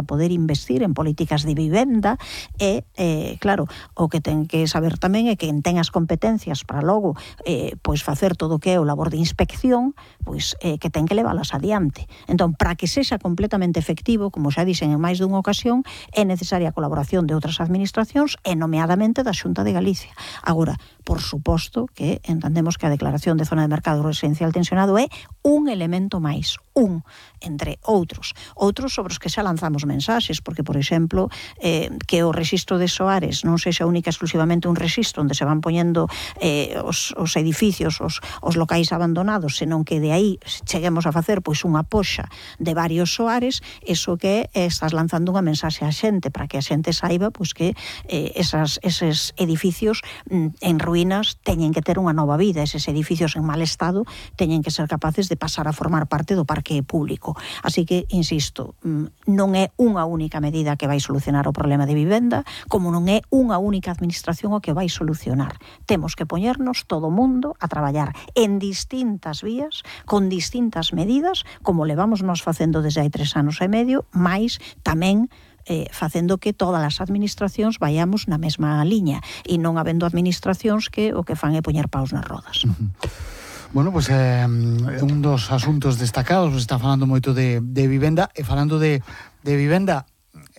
poder investir en políticas de vivenda e, claro, o que ten que saber tamén é que ten as competencias para logo pois facer todo o que é o labor de inspección, pois que ten que leválas adiante. Entón, para que sexa completamente efectivo, como xa dixen en máis dunha ocasión, é necesaria a colaboración de outras administracións e nomeadamente da Xunta de Galicia. Agora, por suposto que entendemos que a declaración de zona de mercado residencial tensionado é un elemento máis, entre outros sobre os que xa lanzamos mensaxes, porque, por exemplo, que o rexistro de soares non sexa única exclusivamente un rexistro onde se van poñendo os edificios, os locais abandonados, senón que de aí cheguemos a facer pois unha poxa de varios soares, eso que estás lanzando unha mensaxe á xente, para que a xente saiba pois que eses edificios en ruínas teñen que ter unha nova vida, eses edificios en mal estado teñen que ser capaces de pasar a formar parte do parque público. Así que, insisto, non é unha única medida que vai solucionar o problema de vivenda, como non é unha única administración o que vai solucionar. Temos que poñernos todo o mundo a traballar en distintas vías, con distintas medidas, como levamos nós facendo desde hai 3 anos e medio, mais tamén facendo que todas as administracións vayamos na mesma liña e non habendo administracións que o que fan é poñer paus nas rodas. Bueno, pois un dos asuntos destacados, está falando moito de vivenda, e falando de vivenda,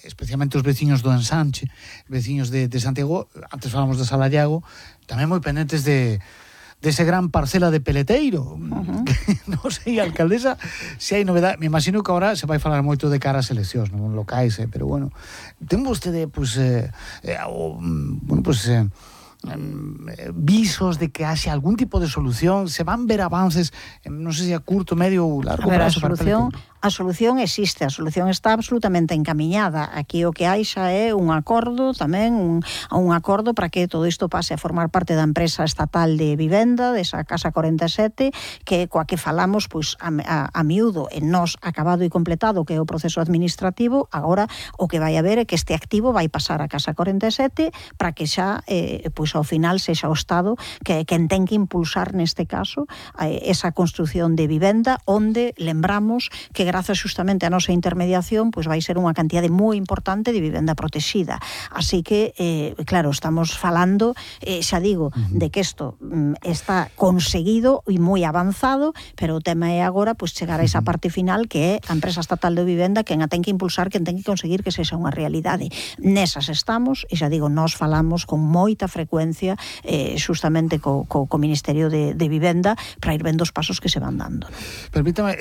especialmente os veciños do Ensanche, veciños de Santiago, antes falamos de Salariago, tamén moi pendentes dese gran parcela de Peleteiro. Non sei, alcaldesa, se hai novedade. Me imagino que agora se vai falar moito de cara ás eleccións, non locais, pero bueno, ten vostede, visos de que haxe algún tipo de solución, se van ver avances, non sei se a curto, medio ou largo prazo. A solución existe, a solución está absolutamente encamiñada. Aquí o que hai xa é un acordo tamén, un acordo para que todo isto pase a formar parte da empresa estatal de vivenda, desa Casa 47, que coa que falamos pois a miúdo, en nós acabado e completado, que é o proceso administrativo. Agora o que vai haber é que este activo vai pasar a Casa 47 para que xa pois ao final sexa o Estado que ten que impulsar neste caso esa construción de vivenda, onde lembramos que grazas justamente a nosa intermediación pois vai ser unha cantidade moi importante de vivenda protexida. Así que, claro, estamos falando, xa digo, de que isto está conseguido e moi avanzado, pero o tema é agora pois chegar a esa parte final que é a empresa estatal de vivenda quen a ten que impulsar, quen ten que conseguir que sexa unha realidade. Nesas estamos, e xa digo, nós falamos con moita frecuencia justamente co Ministerio de Vivenda para ir vendo os pasos que se van dando. Permítame,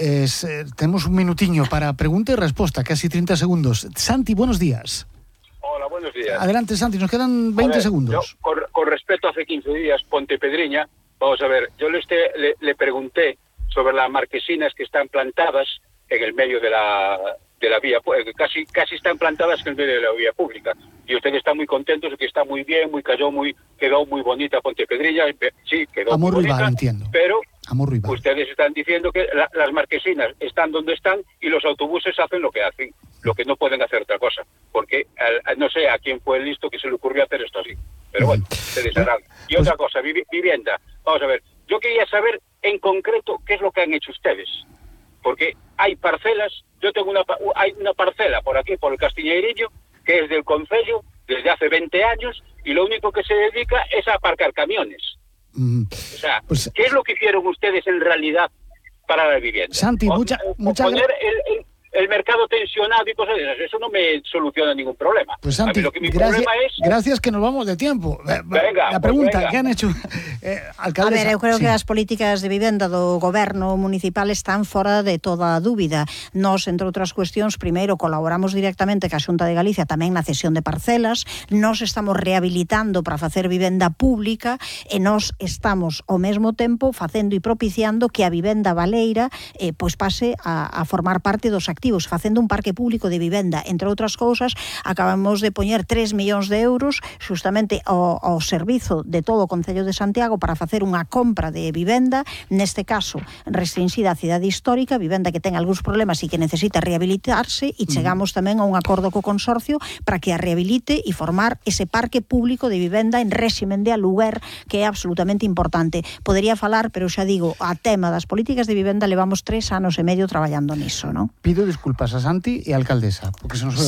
temos un minutiño para pregunta e resposta, casi 30 segundos. Santi, buenos días. Hola, buenos días. Adelante, Santi, nos quedan 20 segundos. Yo, con respecto a hace 15 días, Pontepedriña, vamos a ver, yo le pregunté sobre las marquesinas que están plantadas en el medio de la vía, casi están plantadas en el medio de la vía pública. Y ustedes están muy contentos de que está muy bien, quedó muy bonita Pontepedriña. Sí, quedó muy bonita, entiendo. Pero ustedes están diciendo que las marquesinas están donde están y los autobuses hacen lo que hacen, lo que no pueden hacer otra cosa. Porque no sé a quién fue el listo que se le ocurrió hacer esto así. Pero bueno, ustedes harán. Y otra cosa, vivienda. Vamos a ver, yo quería saber en concreto qué es lo que han hecho ustedes. Porque hay parcelas, yo tengo hay una parcela por aquí, por el Castiñeirillo, que es del concello desde hace 20 años y lo único que se dedica es a aparcar camiones. O sea, ¿qué es lo que hicieron ustedes en realidad para la vivienda? Santi, muchas poner el mercado tensionado y cosas de esas, eso no me soluciona ningún problema. Pues Santi, gracias que nos vamos de tiempo. Venga, la pregunta, ¿qué han hecho? Alcaldesa, a ver, eu creo que as políticas de vivenda do goberno municipal están fora de toda dúbida. Nós, entre outras cuestións, primeiro colaboramos directamente ca Xunta de Galicia tamén na cesión de parcelas, nós estamos rehabilitando para facer vivenda pública e nós estamos ao mesmo tempo facendo e propiciando que a vivenda baleira pois pase a formar parte dos activos, facendo un parque público de vivenda. Entre outras cousas, acabamos de poñer 3 millóns de euros justamente ao servizo de todo o Concello de Santiago para facer unha compra de vivenda, neste caso restringida á cidade histórica, vivenda que ten algúns problemas e que necesita rehabilitarse, e chegamos tamén a un acordo co consorcio para que a rehabilite e formar ese parque público de vivenda en réximen de aluguer, que é absolutamente importante. Podería falar, pero xa digo, a tema das políticas de vivenda levamos 3 anos e medio traballando niso, non? Pido disculpas a Santi e a alcaldesa, porque se nos